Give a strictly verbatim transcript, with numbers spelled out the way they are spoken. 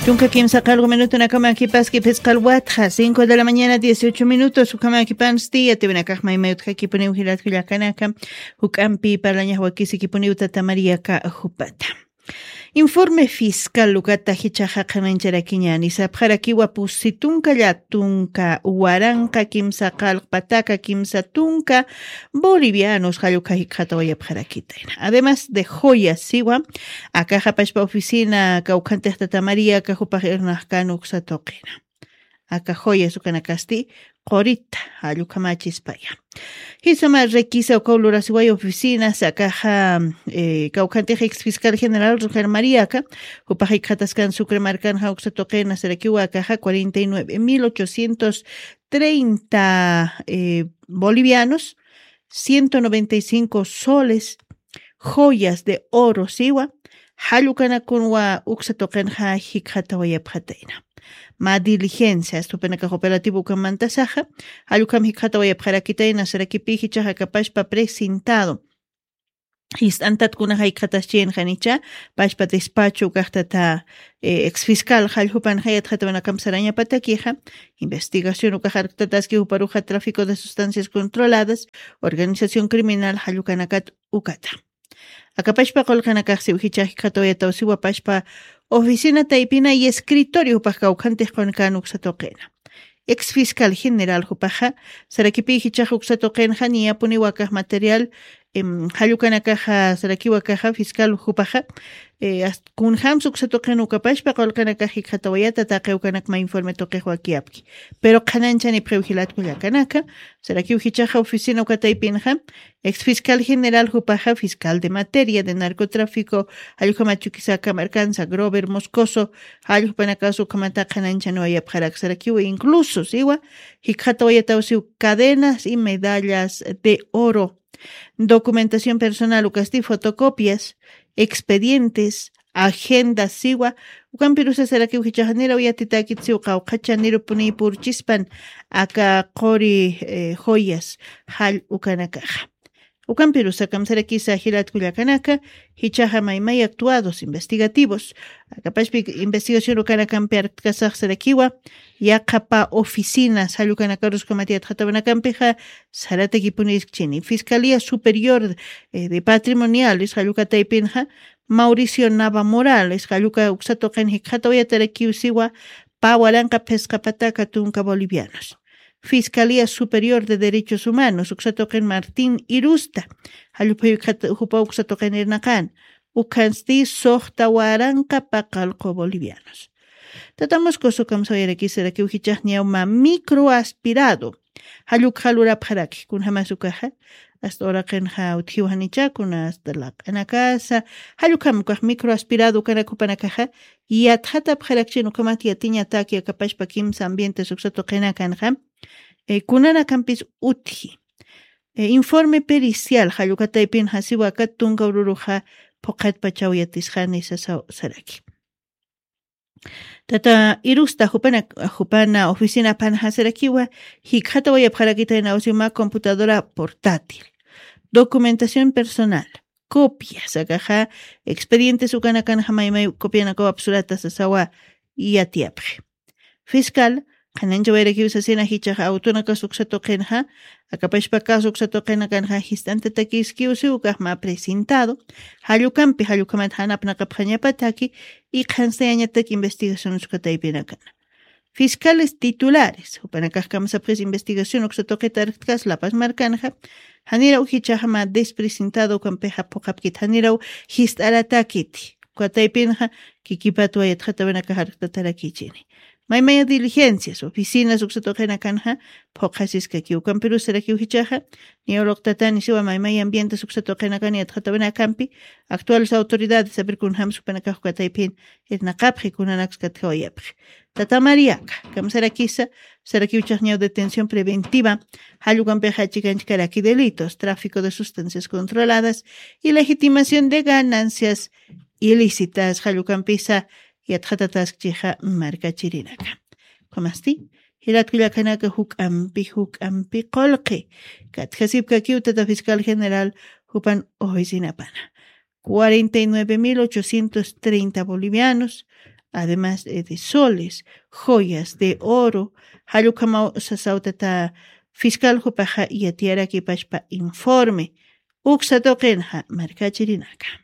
Tunka kimsa qalqu minutunakama kipaski phisqal watxa cinco de la mañana dieciocho minutos. Ukhamäkipansti yatiwinakax maymayutxakipuniw jilatkullakanaka. Juk'ampi parlañax wakisikipuniw tata Mariaka jupata. Informe fiscal ukata jichaxa qhanañcharakiñani sapxarakiwa pusi tunka llatunka waranqa kimsa qalqpataka kimsa tunka bolivianos jallukha jikxatawayapxarakitayna. Además de joya siwa akaxapashpa oficina kawkhantixta tamariaka jupax irnaxkan uksa tuqina. Aka joya sukanakasti qurita jallukamachispaya. Jisama requisa ukaw lurasiway oficina sakaxa kawkhantix ex fiscal general roger mariaka jupax jikxataskan sucre markanxa uksa tuqina sarakiwa akaxa cuarenta y nueve mil ochocientos treinta bolivianos, ciento noventa y cinco soles, joyas de oro siwa jallukanakun wa uksa tuqinxa jikxatawayapxatayna. Ma diligencia astupinakax operativo ukamantasaxa jallukam jikxatawayapxarakitayna sarakipi jichaxa kapashpa presentado jist'antatkunaxa jikxataschinxanicha pashpa despacho ukaxtata ex fiscal jalljupanxa yatxatawanakamp sarañapatakixa investigación ukaxarktataski juparuxa tráfico de sustancias controladas organización criminal jallukanakat ukata. Akapashpa qulqinakaxsiw jichax jikxatawayataw siwapashpa oficina taypina y escritorio jupax kawkhantix qunkan uksa tuqina. Ex fiscal general jupaxa sarakipi jichax uksa tuqinxa niyapuniw akax material jallukanakaxa sarakiw akaxa fiscal jupaxa kunjams uksa tuqin ukapashpa qulqinakax jikxatawayata taqiwkanakma informe tuqix wakiyapki. Pero qhananchanipxiw jilatkullakanaka sarakiw jichaxa oficina ukataypinxa ex fiscal general jupaxa fiscal de materia de narcotráfico jallukhamachukisaka markansa grover moscoso jallukpanakas ukhamata qhananchanwayapxarak sarakiw incluso siwa jikxatawayataw siw cadenas y medallas de oro, documentación personal ukasti fotocopias, expedientes, agendas siwa ukampirusa sarakiw jichaxa niraw yatitäkit siw qawqhacha nirupuniy purchispan aka quri joyas jall ukanakaxa. Ukampirusa kamsarakisa jilatkullakanaka jichaxa maymay actuados investigativos akapashpi investigación ukanakampi arktkasax sarakiwa yaqhapa oficinas jallukanakarus ukamat yatxatawanakampixa saratakipuniskchini fiscalía superior de patrimoniales jallukataypinxa mauricio nava morales jalluka uksa tuqin jikxatawayatarakiw siwa pä waranqa phisqa pataka tunka bolivianos. Fiscalía superior de derechos humanos uksa tuqin martín irusta jallupha jikxata jupa uksa tuqin irnaqan ukhansti suxta waranqa paqallqu bolivianos. Tata moscoso kamsawayarakisarakiw jichaxniyaw mä microaspirado jallukxa lurapxaraki kunjamas ukaxa asta uraqinxa utjiw janicha kuna asta laq'anakasa jallukham ukax microaspirado ukanak jupanakaxa yatxatapxarakchin ukhamat yatiñataki akapashpa kimsa ambientes uksa tuqinakanxa kunanakampis utji. Informe pericial jallukataypinxa siwa akat tunka ururuxa phuqhatpachaw yatisxani sasaw saraki. Tata irusta jupana jupana oficinapanxa sarakiwa jikxatawayapxarakitayna usiw mä computadora portátil, documentación personal, copias akaxa expedientes ukanakanxa maymay copianakawap surata sasawa yatiyapxi. Fiscal qhananchawayarakiw sasina jichaxa autonakas uksa tuqinxa akapashpa caso uksa tuqinakanxa jist'antatakiskiw siw ukax mä presentado jallukampi jallukhamat janapnaqapxañapataki y qhanstayañatak investigaciones ukataypinakana. Fiscales titulares jupanakax kamsapxis investigación uksa tuqita arktkas lapas markanxa janiraw jichaxa mä despresentado ukampixa phuqhapkit janiraw jist'aratakiti ukataypinxa kikipatwa yatxatawinakax arktatarakïchini. Maymaya diligencias oficinas uksa tuqinakanxa phuqhasiskaki ukampirusarakiw jichaxa niyaw luqtatani siwa maymaya ambientes uksa tuqinakan yatxatawinakampi actuales autoridades apir kunjams jupanakax ukataypin irnaqapxi kunanakskatjawayapxi. Tata mariaka kamsarakisa sarakiw chaqñaw detención preventiva jallukampixa chikanchkaraki delitos tráfico de sustancias controladas y legitimación de ganancias ilícitas jallukampisa yatxatataskchixa markachirinaka. Ukhamasti jilatkullakanaka juk'ampi juk'ampi qulqi katjasipkakiw tata fiscal general jupan oficinapana cuarenta y nueve mil ochocientos treinta bolivianos, además de soles, joyas de oro. Jallukamaw sasawtata fiscal jupaxa yatiyarakipashpa informe uksatoqinxa markachirinaka.